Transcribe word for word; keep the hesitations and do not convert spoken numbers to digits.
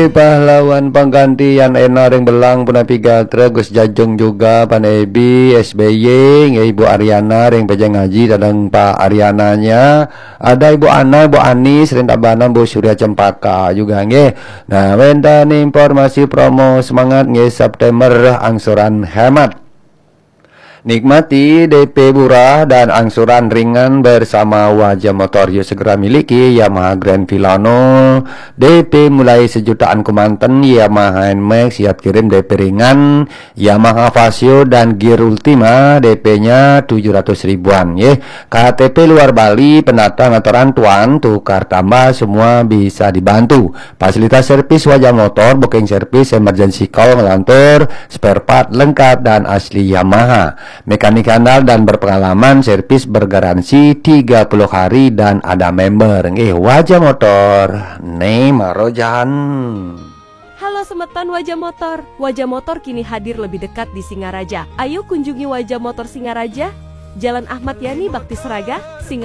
Pahlawan pangganti Yan Ena ring Belang punapi gatra, Gus Jajeng juga, Pan Ebi, S B Y, nggih, Ibu Ariana ring Pejeng Aji, tadang Pak Ariananya, ada Ibu Ana, Ibu Anis ring Tabanan, Bu Surya Cempaka juga, nggih. Nah, wénten informasi promo semangat, nggih, September angsuran hemat. Nikmati D P murah dan angsuran ringan bersama Waja Motor. Yuk segera miliki Yamaha Grand Filano, D P mulai sejutaan kemanten, Yamaha Nmax siap kirim D P ringan, Yamaha Fazzio dan Gear Ultima D P-nya tujuh ratus ribuan, nggih. K T P luar Bali, pendatang atau rantauan, tukar tambah, semua bisa dibantu. Fasilitas servis Waja Motor, booking service, emergency call, ngelantur, spare part lengkap dan asli Yamaha. Mekanik handal dan berpengalaman, servis bergaransi tiga puluh hari dan ada member. Nggih, Waja Motor, né marojan. Halo semeton Waja Motor. Waja Motor kini hadir lebih dekat di Singaraja. Ayo kunjungi Waja Motor Singaraja, Jalan Ahmad Yani, Bakti Seraga, Singaraja.